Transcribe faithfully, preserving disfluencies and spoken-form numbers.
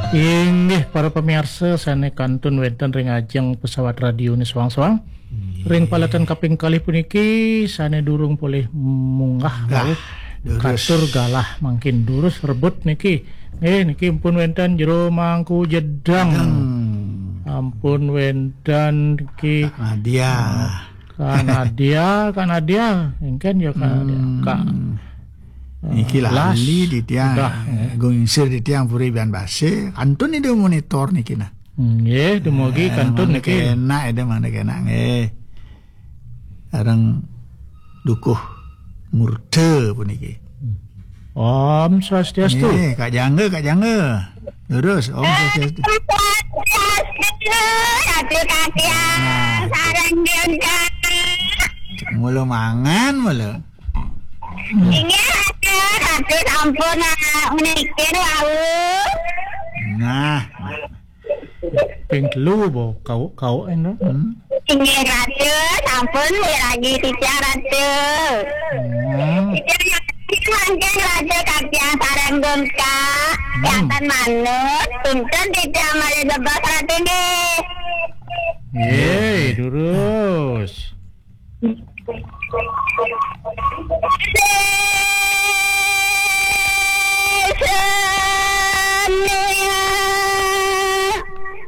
Inggih, para pamiarsa sané kantun wénten ring ajeng pesawat radio né soang-soang. Ring paletan kaping kalih puniki sané durung polih munggah malih katur galah mangkin durus rebut niki. Nggih, niki ampun wénten Jero Mangku Jedang. Ampun wénten niki Nadia. Kak Nadia, Kak Nadia. Éngkén ya Kak Nadia. Kak Niki lali di tiang, eh, gung ingsir di tiang puri bian basa. Kantun ida monitor niki nah. Nggih, dumugi kantun niki. Enak ida mana kena nggih. Sareng dukuh murda puniki. Om Swastiastu. Nggih, Kak Jangga, Kak Jangga. Terus Om Swastiastu. Swastiastu, Ratu Katiang, sareng Jangga. Mula mangan mula. Inggih, Ratu, Ratu sampun, ah, menikir wau. Nah. Ping telu bo kau kau eno. Hmm. Inggih, Ratu, sampun miragi titiang, Ratu. Hmm. Titiang mangkin Ratu Katiang sareng Gunka. Hmm. Janten manut, punten titiang malih bebas, Ratu nggih. Nggih, durus.